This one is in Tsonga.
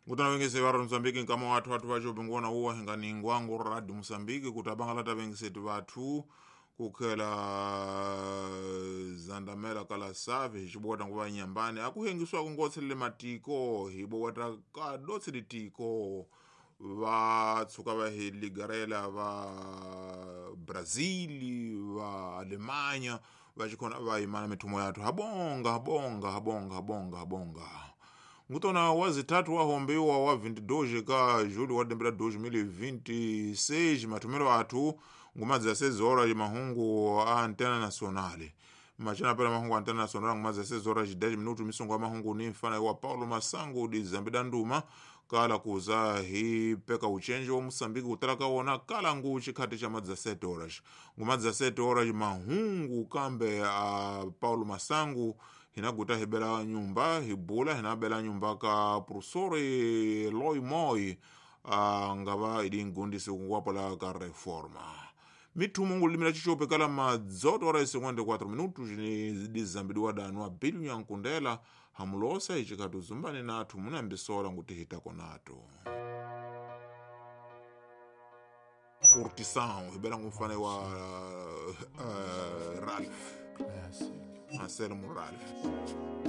Ngutana vengese va Mozambique nkama wathu athu vacho bingona uwa hingani ngwangu radio Mozambique kuti abangala tavengeseti vathu kukhela zandamela kala save hichibota nguva nyambani akuhengiswa kungotselele matiko hibowata kadotseli tiko va tshuka va hi ligarela va Brazil va Alemanha va xikhona va yimana mithumo yathu habonga habonga habonga habonga habonga ngutona wazitatu wahombiwa wa 22 ka julho wa lembe la 2026 mathomelo athu ngumadzi a 6 horas mahungu a antena nacional machana pela mahungu a antena nacional ngumadzi a 6 horas 10 minutos misongo ya mahungu ni mfana wa Paulo Masango di Zambida Nduma kala kuza hi peka uchenji wa Moçambique kutala kawona kala ngu chikhati cha madzi a 7 horas ngumadzi a 7 horas mahungu kambe a Paulo Masango hinaguta hibela nyumba hibula hinabela nyumba ka professori Loi Moi ngava ili ngundisi kunguwapola ka reforma mithumu ngulimira chichope kala madzoto ora 54 minutos ni dizambidiwa danu abilu nyankundela hamulosa ichikhati uzumbani nathu munambisola nguti hitako nato curtição hibela ngumfane wa Ralph Classic. Anselmo Ralph.